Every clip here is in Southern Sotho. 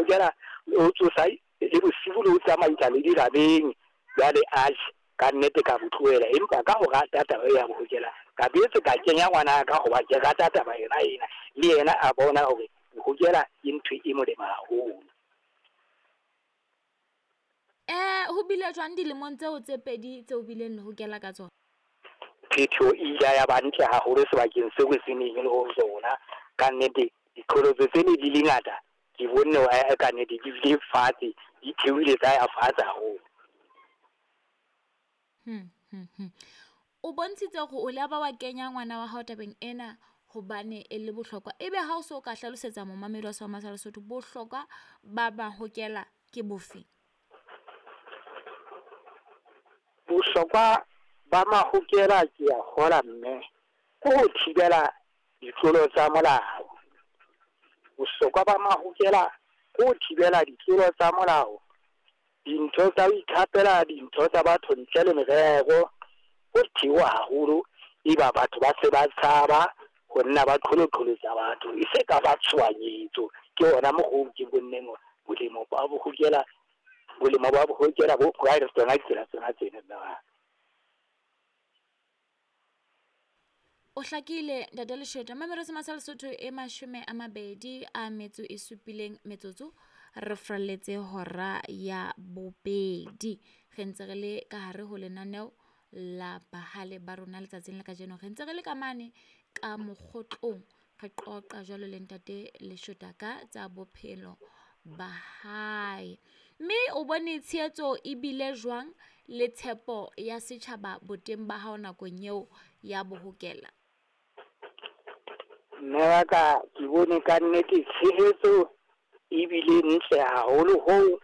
Hokela o tsosa le bosiu le ho tsamaisa le dirabeng. Jwale atjhe, ka nnete ka bo tlohela, empa ka ho rata taba ya bohokela ka boetse ka kenya ngwana ka hoba ke rata taba yona ena, le yena a bona hore bohokela ke ntho e molemo haholo. Ho bile jwang dilemong tseo tse pedi tseo bileng le hokela ka tsona? Phethoho e ile ya ba ntle haholo sebakeng seo se neng le ho sona. Ka nnete diqholotso tse ne di le ngata, ke bonne hore ka nnete di bile fatshe, di theohile tsa ya fatshe haholo. O bontshitse hore o la ba wa kenya ngwana wa hao tabeng ena hobane e le bohlokwa. Ebe ha o so ka hlalosetsa momamedi wa Seoma sa Lesotho bohlokwa ba mahokela ke bofe? Bohlokwa ba mahokela ke a kgola mme, ke ho thibela ditlolo tsa molao. Bohlokwa ba mahokela ke ho thibela ditlolo tsa molao, dintho tsa ho ikhapela dintho tsa batho ntle le merero. Ho theoha haholo, eba batho ba se ba tshaba ho nna ba qholoqholotsa batho, e se ka ba tshohanyetso. Ke hona mokgwa oo ke bonneng hore bolemo ba bohokela, bolemo ba bohokela bo tsona ditsela tsona tseno mme wa. O hlakile Ntate Leshweta. Mamelo se sa Lesotho e 27 metsotso re fralletse hora ya bobedi. Re ntse re le ka hare ho lenaneo la bahale ba rona letsatsing la kajeno. Re ntse re le ka mane ka mokgotlong, re qoqa jwalo le Ntate Leshweta ka tsa bophelo ba hae. Mme o bone tshehetso e bile jwang le tshepo ya setjhaba boteng ba hao nakong eo ya bohokela? Mme wa ka, ke bone ka nnete tshehetso ebile ntle haholo hoo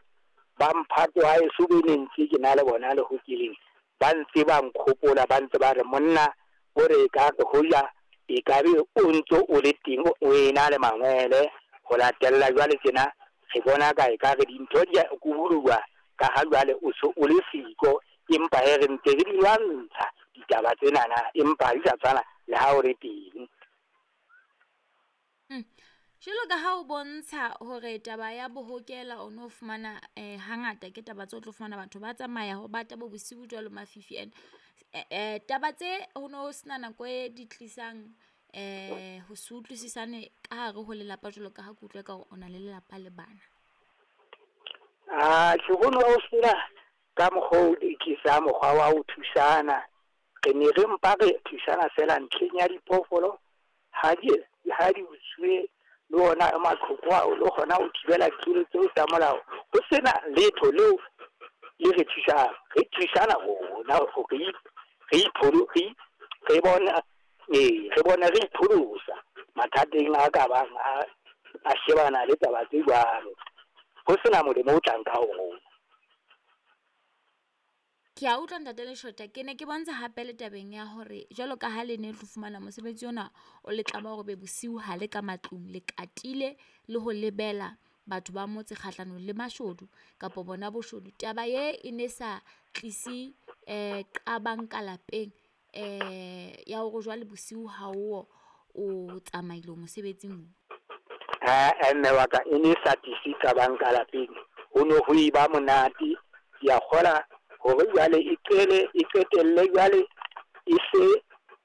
ba mphato wa heso be ne ntse ke na le bona le hokeleng, ba ntse ba nkgopola, ba ntse ba re monna o re ka re hoja e ka be o ntso o le teng o ena le mangwele. Ho latella jwale tjena re bona ka e ka re dintho di a kubuluwa ka ha jwale o so o le siko, empa he re ntse re di lwantsha ditaba tsenana, empa di sa tshwana le ha o le teng. Jwalo ka ha o bontsha hore taba ya bohokela o no fumana hangata ke taba tse o tlo fumana batho ba tsamaya ho bata bo bosiu jwalo mafifi and taba tse ho no sena nako e di tlisang ho se utlwisisane ka hare ho lelapa jwalo ka ha ke utlwa ka hore o na le lelapa le bana. Atjhe, ho no ho sena ka mokgwa o di tlisang mokgwa wa ho thusana. Re ne re mpa re thusana feela ntlheng ya diphoofolo ha di utsuwe le ona maqhoko ao le kgona ho thibela ditlolo tseo tsa molao. Ho sena letho leo le re thusang, re thusana rona hore re bone re ipholosa mathateng a ka bang a shebana le taba tse jwalo. Ho sena molemo o tlang ka ho rona. Ke a utlwa Ntate Leshweta, ke ne ke bontsha hape le tabeng ya hore jwalo ka ha le ne tlo fumana mosebetsi ona o le tlama hore be bosiu ha le ka matlung, le katile le ho lebela batho ba motse kgahlanong le mashodu kapa bona boshodu. Taba ye e ne sa tlise qabang ka lapeng ya hore jwale bosiu ha o o tsamaile mosebetsing. Mme wa ka, e ne sa tlise qabang ka lapeng, ho no ho e ba monate. Ke a kgola hore jwale e qele e qetelle jwale e se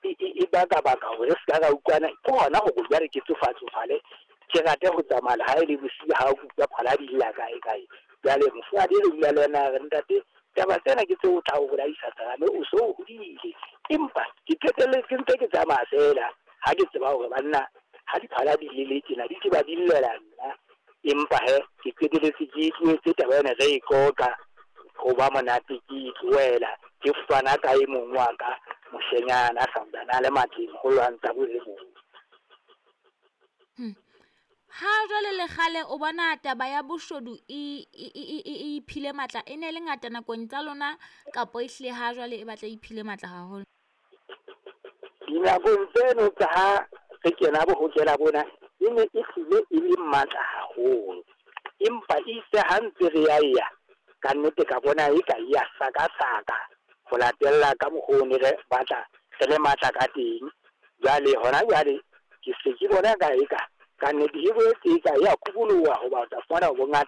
e baka baka hore re ska ra utlwana. Ke hona hore jwale ke tsofatsofale, ke rate ho tsamaya le ha e le bosiu ha o utlwa phala di lla kae kae. Jwale mofumahadi re dula le yena re ntate, taba tsena ke tseo o tla o bolaisa serame, o so o hodile. Empa ke qetelletse ntse ke tsamaya feela ha ke tseba hore banna ha diphala di lele tjena di ke ba di llela nna. Empa he ke qetelletse ke tlohetse taba ena re e qoqa, ho ba monate ke itlohela, ke fana ka e mong wa ka moshenyana a santsane a le matleng ho lwantsha bo e mong. Ha jwale le kgale o bona taba ya boshodu e iphile matla, e ne le ngata nakong tsa lona kapo ehlile ha jwale e batla e iphile matla haholo? Dinakong tseno tsa ha re kena bohokela bona, e ne e hlile e le matla haholo, empa itse ha ntse re ya ya ka nnete ka bona e ka ya saka-saka ho latella ka mokgwa o ne re batla re le matla ka teng. Jwale hona jwale ke se ke bona ka eka ka nnete e boetse e ka ya kuboloha hoba o tla fumana bongata.